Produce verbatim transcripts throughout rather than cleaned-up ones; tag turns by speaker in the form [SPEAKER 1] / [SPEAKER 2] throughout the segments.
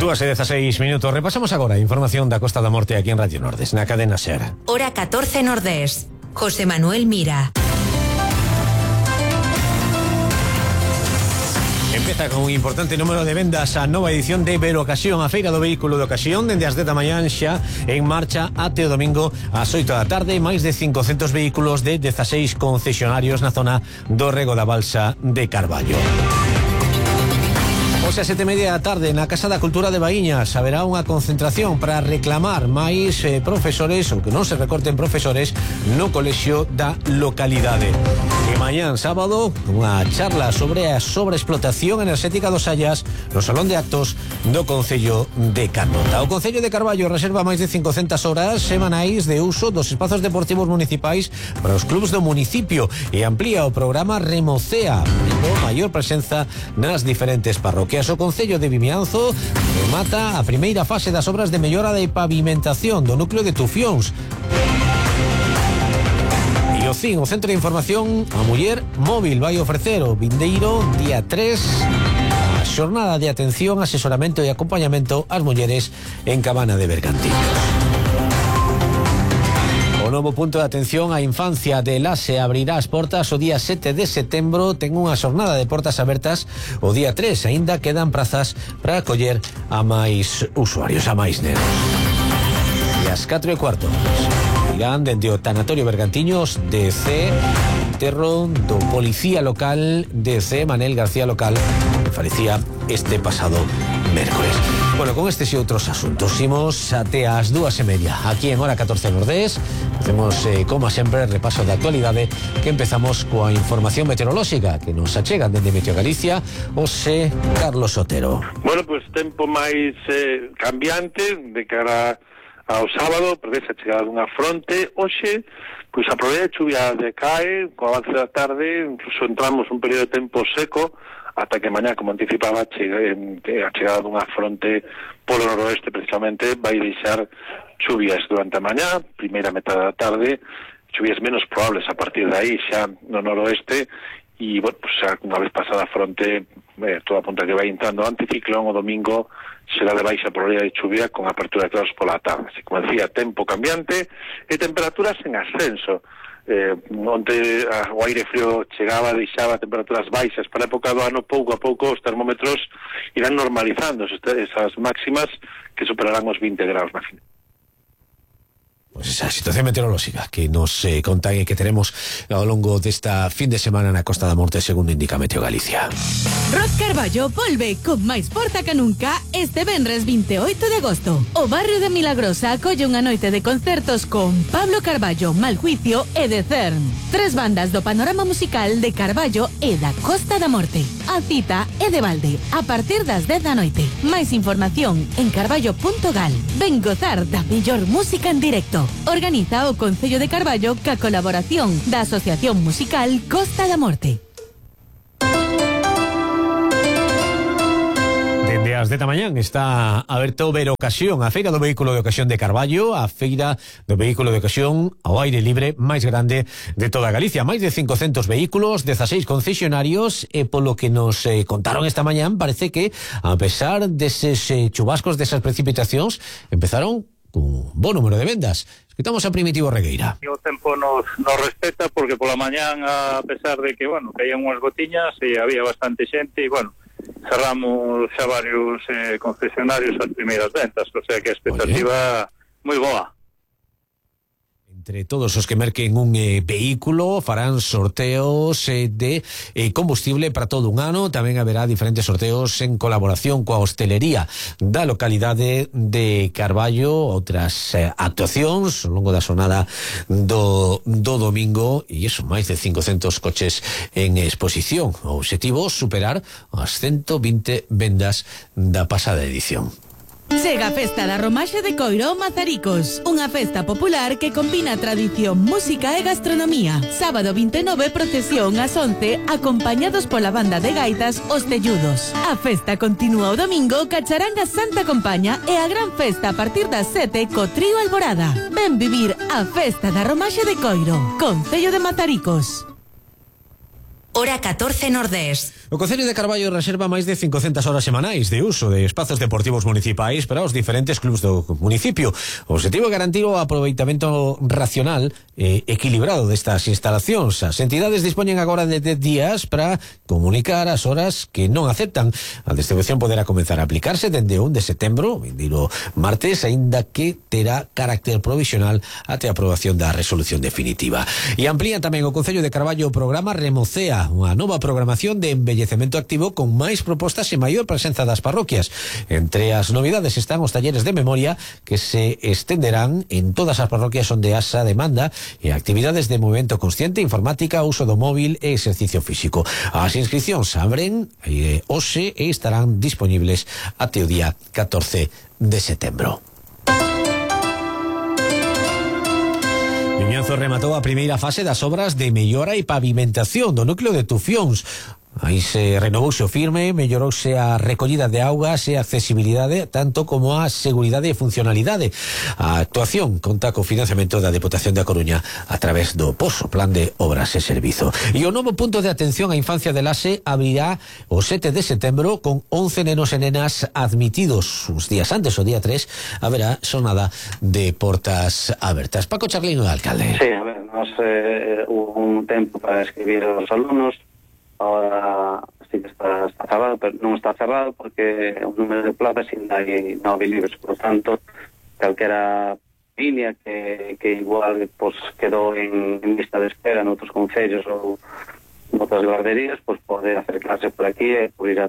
[SPEAKER 1] Dúas e dezaseis minutos. Repasamos agora a información da Costa da Morte aquí en Radio Nordes, na cadena SER.
[SPEAKER 2] Hora catorce Nordés. José Manuel Mira.
[SPEAKER 1] Empeza con un importante número de vendas a nova edición de Verocasión, a feira do vehículo de ocasión, dende as dez da mañán xa en marcha até o domingo ás oito da tarde. Máis de cincocentos vehículos de dezaseis concesionarios na zona do Rego da Balsa de Carballo. Hoxe a sete e media da tarde na Casa da Cultura de Baíñas haberá unha concentración para reclamar máis eh, profesores, ou que non se recorten profesores no colexio da localidade. E mañán sábado unha charla sobre a sobreexplotación enerxética dos Sallas no Salón de Actos do Concello de Carnota. O Concello de Carballo reserva máis de cincocentas horas semanais de uso dos espazos deportivos municipais para os clubs do municipio e amplía o programa Remocea, con maior presenza nas diferentes parroquias. O Concello de Vimianzo remata a primeira fase das obras de mellora de pavimentación do núcleo de Tufións. E o C I N, o Centro de Información a Muller Móvil, vai ofrecer o vindeiro día tres a xornada de atención, asesoramento e acompañamento ás mulleres en Cabana de Bergantiños. O novo punto de atención á infancia de Lase abrirá as portas o día sete de setembro. Ten unha xornada de portas abertas o día tres. Aínda quedan prazas para acoller a máis usuarios, a máis nenos. E as catro e cuarto irán dende o Tanatorio Bergantiños D C, enterro do policía local D C, Manel García Local, que falecía este pasado mércoles. Bueno, con estes e outros asuntos imos até as dúas e media aquí en Hora catorce Nordés. Hacemos, eh, como sempre, repaso da actualidade, que empezamos coa información meteorolóxica que nos achegan dende Meteo Galicia José Carlos Otero.
[SPEAKER 3] Bueno, pois pues, tempo máis eh, cambiante de cara ao sábado, prevese a chegada dunha fronte. Hoxe, pois a probabilidade de chuvia decae co avance da tarde, incluso entramos un período de tempo seco, ata que mañá, como anticipaba, a chegada dunha fronte polo noroeste precisamente vai deixar chuvias durante a mañá, primeira metade da tarde, chuvias menos probables a partir de aí xa no noroeste, e, bueno, pues, xa unha vez pasada a fronte, eh, toda apunta que vai entrando o anticiclón, o domingo será de baixa probabilidade de chuvia con apertura de claros pola tarde. Así como decía, tempo cambiante e temperaturas en ascenso. Eh, onte a, o aire frío chegaba, deixaba temperaturas baixas para a época do ano. Pouco a pouco os termómetros irán normalizando esas máximas que superarán os vinte graus na fin.
[SPEAKER 1] Pues esa situación meteorolóxica que nos eh, contan e que teremos ao longo desta fin de semana na Costa da Morte, segundo indica Meteo Galicia.
[SPEAKER 4] Rock Carballo volve con máis porta que nunca este venres veintioito de agosto. O barrio de Milagrosa acolle unha noite de concertos con Pablo Carballo, Maljuicio e The Cern. Tres bandas do panorama musical de Carballo e da Costa da Morte. A cita é de balde a partir das dez da noite. Máis información en carballo punto gal. Ven gozar da mellor música en directo. Organiza o Concello de Carballo ca colaboración da Asociación Musical Costa da Morte.
[SPEAKER 1] Dende as dez da mañán está aberto Verocasión, a feira do vehículo de ocasión de Carballo, a feira do vehículo de ocasión ao aire libre máis grande de toda Galicia. Máis de cincocentos vehículos, dezaseis concesionarios, e polo que nos eh, contaron esta mañán, parece que, a pesar deses eh, chubascos, desas precipitacións, empezaron un bo número de vendas. Escutamos a Primitivo Regueira.
[SPEAKER 5] O tempo nos, nos respeta, porque pola mañán, a pesar de que, bueno, caían unhas gotiñas e había bastante xente, e, bueno, cerramos xa varios eh, concesionarios as primeiras ventas, o sea que a expectativa moi boa.
[SPEAKER 1] Entre todos os que merquen un eh, vehículo farán sorteos eh, de eh, combustible para todo un ano. Tamén haberá diferentes sorteos en colaboración coa hostelería da localidade de Carballo, outras eh, actuacións ao longo da xornada do, do domingo, e iso, máis de cincocentos coches en exposición. O obxectivo, superar as ciento vinte vendas da pasada edición.
[SPEAKER 4] Chega a Festa da Romaxe de Coiro Mazaricos, unha festa popular que combina tradición, música e gastronomía. Sábado vinte e nove, procesión ás once, acompañados pola banda de gaitas Os Telludos. A festa continúa o domingo, Cacharanga Santa Compaña e a gran festa a partir das sete co Trío Alborada. Ven vivir a Festa da Romaxe de Coiro, Concello de Mazaricos.
[SPEAKER 2] Hora catorce Nordés.
[SPEAKER 1] O Concello de Carballo reserva máis de cincocentas horas semanais de uso de espazos deportivos municipais para os diferentes clubs do municipio. O objetivo é garantir o aproveitamento racional e equilibrado destas instalacións. As entidades dispoñen agora de dez días para comunicar as horas que non aceptan. A distribución poderá comenzar a aplicarse dende o un de setembro, vindeiro martes, aínda que terá carácter provisional até a aprobación da resolución definitiva. E amplían tamén o Concello de Carballo o programa Remocea, unha nova programación de envellecemento activo con máis propostas e maior presenza das parroquias. Entre as novidades están os talleres de memoria que se estenderán en todas as parroquias onde haxa demanda e actividades de movimento consciente, informática, uso do móvil e exercicio físico. As inscripcións abren eh, hoxe e estarán disponibles até o día catorce de setembro. Vimianzo rematou a primeira fase das obras de mellora e pavimentación do núcleo de Tufións. Aí se renovouse o firme, mellorouse a recollida de augas e a accesibilidade, tanto como a seguridade e funcionalidade. A actuación conta co financiamento da Deputación da Coruña a través do P O S, o Plan de Obras e Servizo. E o novo punto de atención á infancia de Lase abrirá o sete de setembro con once nenos e nenas admitidos. Uns días antes, o día tres, haberá xornada de portas abertas. Paco Charlín, o alcalde.
[SPEAKER 6] Sí, a ver, nos eh, hubo un tempo para escribir aos alumnos. Ahora sí que está, está cerrado, pero non está cerrado porque o número de plazas ainda hai nove libres, por tanto, calquera línea que, que igual pues, quedou en, en lista de espera noutros concellos ou noutras guarderías, pues pode acercarse por aquí e cubrir a,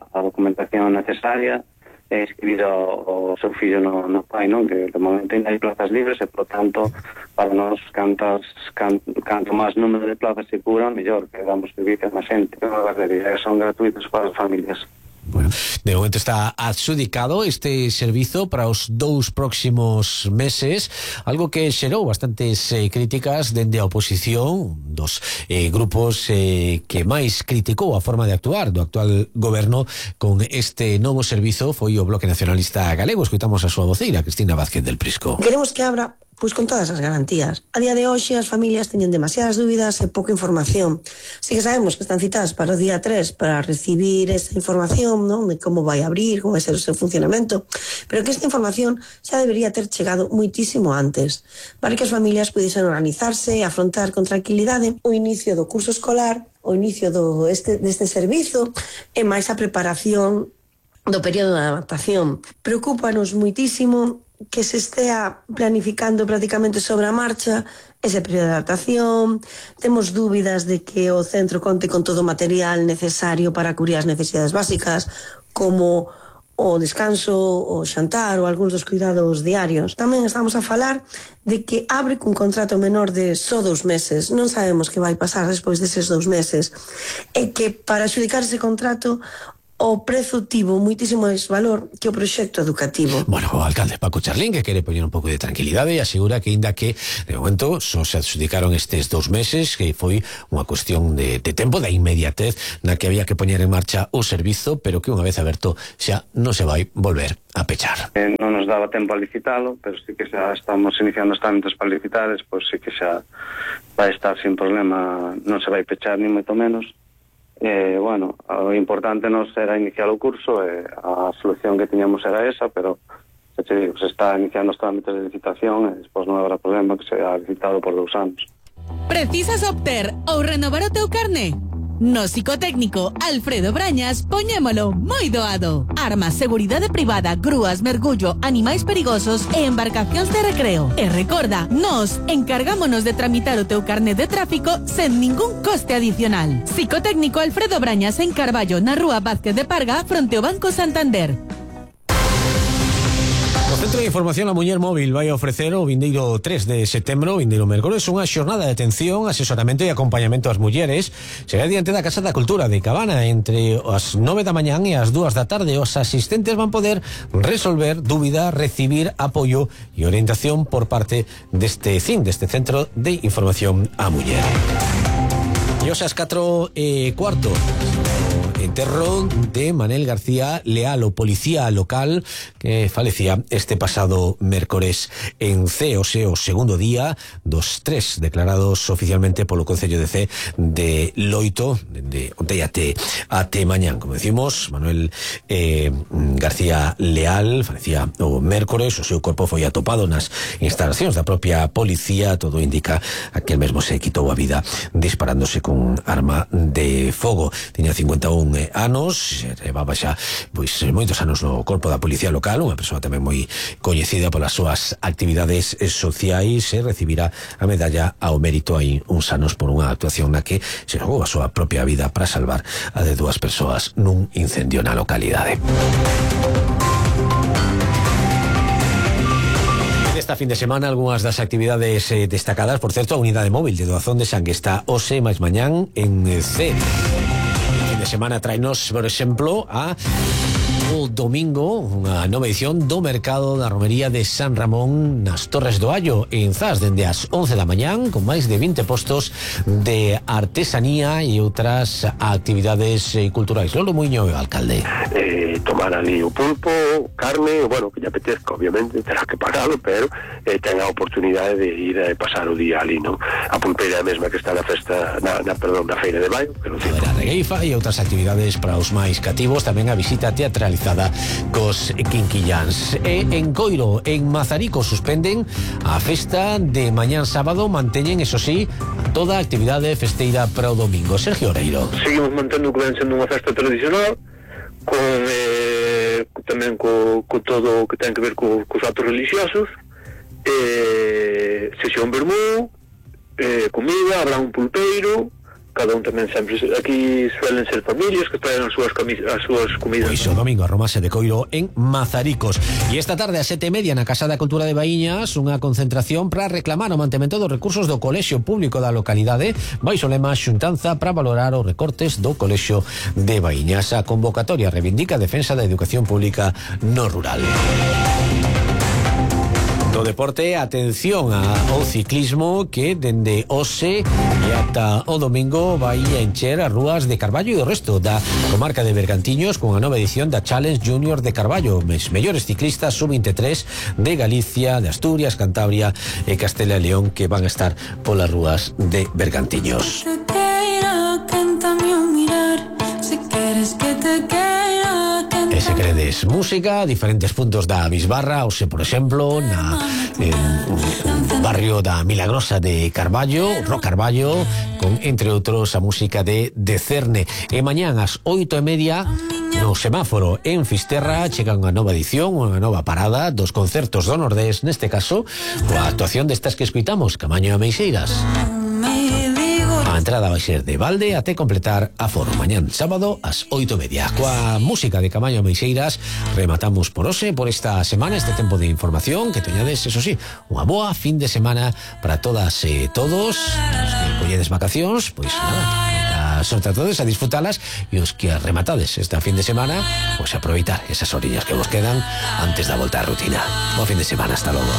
[SPEAKER 6] a documentación necesaria e escribir o, o seu fillo no, no pai, non? Que de momento ainda hai plazas libres e, por tanto, para nós, cantas, can, canto máis número de plazas se cubran, mellor, que damos servicio a máis xente. As guarderías son gratuitas para as familias.
[SPEAKER 1] Bueno, de momento está adxudicado este servizo para os dous próximos meses, algo que xerou bastantes eh, críticas dende a oposición dos eh, grupos eh, que máis criticou a forma de actuar do actual goberno con este novo servizo foi o Bloque Nacionalista Galego. Escoitamos a súa voceira, Cristina Vázquez del Prisco.
[SPEAKER 7] Queremos que abra pois con todas as garantías. A día de hoxe as familias teñen demasiadas dúbidas e pouca información. Si que sabemos que están citadas para o día tres para recibir esa información, non, de como vai abrir, como vai ser o seu funcionamento, pero que esta información xa debería ter chegado muitísimo antes, para que as familias pudisen organizarse e afrontar con tranquilidade o inicio do curso escolar, o inicio do este, deste servizo e máis a preparación do período de adaptación. Preocúpanos muitísimo que se estea planificando prácticamente sobre a marcha ese período de adaptación. Temos dúbidas de que o centro conte con todo o material necesario para cubrir as necesidades básicas, como o descanso, o xantar ou algúns dos cuidados diarios. Tamén estamos a falar de que abre cun contrato menor de só dous meses. Non sabemos que vai pasar despois deses dous meses. E que para adxudicar ese contrato o prezo tivo muitísimo máis valor que o proxecto educativo.
[SPEAKER 1] Bueno, o alcalde Paco Charlín, que quere poñer un pouco de tranquilidade e asegura que ainda que de momento só se adxudicaron estes dous meses, que foi unha cuestión de, de tempo, de inmediatez na que había que poñer en marcha o servizo, pero que unha vez aberto xa non se vai volver a pechar.
[SPEAKER 6] Eh, non nos daba tempo a licitalo, pero sí que xa estamos iniciando os trámites para licitar, pois sí que xa vai estar sin problema, non se vai pechar ni moito menos. Eh, bueno, o importante nos era iniciar o curso e a solución que tiñamos era esa, pero se, che digo, se está iniciando os trámites de licitación e despois non habrá problema que se ha licitado por dous anos.
[SPEAKER 4] Precisas obter ou renovar o teu carné? No psicotécnico Alfredo Brañas poñémolo moi doado. Armas, seguridade privada, grúas, mergullo, animais perigosos e embarcacións de recreo. E recorda, nós encargámonos de tramitar o teu carné de tráfico sen ningún coste adicional. Psicotécnico Alfredo Brañas en Carballo, na rúa Vázquez de Parga, fronte ao Banco Santander.
[SPEAKER 1] O Centro de Información a Muller Móvil vai ofrecer o vindeiro tres de setembro, vindeiro mércores, unha xornada de atención, asesoramento e acompañamento ás mulleres. Será diante da Casa da Cultura de Cabana entre as nove da mañán e as dúas da tarde. Os asistentes van poder resolver dúbidas, recibir apoio e orientación por parte deste C I N, deste Centro de Información a Muller. E os as catro e cuarto enterro de Manel García Leal, o policía local que falecía este pasado mércores en Cee, o sea, o segundo día dos tres declarados oficialmente polo Concello de Cee de Loito, de ontei até, até mañán. Como decimos, Manuel eh, García Leal falecía o mércores, o seu corpo foi atopado nas instalacións da propia policía. Todo indica a que el mesmo se quitou a vida disparándose con arma de fogo. Tiña cincuenta e un anos, levaba xa pois moitos anos no corpo da policía local, unha persoa tamén moi coñecida polas súas actividades sociais, e recibirá a medalla ao mérito hai uns anos por unha actuación na que se xogou a súa propia vida para salvar a de dúas persoas nun incendio na localidade. Esta fin de semana algunhas das actividades eh, destacadas. Por certo, a unidade móvil de doazón de sangue está hoxe máis mañán en Cee. A fin de semana traenos, por exemplo, a o domingo unha nova edición do mercado da romería de San Ramón nas Torres do Allo en Zas, dende as once da mañán, con máis de vinte postos de artesanía e outras actividades eh, culturais. Lolo Muiño, alcalde.
[SPEAKER 8] Eh, tomar ali o pulpo, carne, bueno, que lle apetezca, obviamente, terá que pagarlo, pero eh, ten a oportunidade de ir a pasar o día ali, non? A pulpeira mesma que está na festa, na, na perdón, na feira de maio, pero
[SPEAKER 1] a ver, a regueifa e outras actividades para os máis cativos, tamén a visita teatral cos quinquillans. E en Coiro, en Mazarico, suspenden a festa de mañán sábado, manteñen, eso sí, toda a actividade festeira para o domingo. Sergio Oreiro.
[SPEAKER 9] Seguimos mantendo que ven sendo unha festa tradicional, con eh, tamén co, co todo o que ten que ver co, cos actos religiosos, eh, sesión vermú, eh, comida, habrá un pulpeiro, cada un tamén sempre, aquí suelen ser familias que traen as súas, as súas comidas.
[SPEAKER 1] Pois o domingo a Romase de Coiro en Mazaricos. E esta tarde a sete e media na Casa da Cultura de Baíñas, unha concentración para reclamar o mantemento dos recursos do colexio público da localidade, baixo lema xuntanza para valorar os recortes do colexio de Baíñas. A convocatoria reivindica a defensa da educación pública no rural. Do deporte, atención ao ciclismo, que dende hoxe e ata o domingo vai a encher as rúas de Carballo e o resto da comarca de Bergantiños con a nova edición da Challenge Junior de Carballo. Os mellores ciclistas sub veintitrés de Galicia, de Asturias, Cantabria e Castela e León, que van a estar polas rúas de Bergantiños. E se queredes música, diferentes puntos da Bisbarra, ou se, por exemplo, na eh, barrio da Milagrosa de Carballo, Rock Carballo, con, entre outros, a música de De Cerne. E mañán ás oito e media no semáforo en Fisterra chega unha nova edición, unha nova parada dos concertos do Nordés, neste caso, coa actuación destas que escuitamos, Camaño e Ameixeiras. A entrada vai ser de balde até completar a foro. Mañán sábado ás oito e media. Coa música de Camaño e Meixeiras rematamos por hoxe, por esta semana, este tempo de información. Que teñades, eso sí, unha boa fin de semana para todas e todos. Os que colledes vacacións, pois nada, a sorte a todos, a disfrutalas, e os que rematades esta fin de semana, pois aproveitar esas orillas que vos quedan antes da volta á rutina. Boa fin de semana, hasta logo.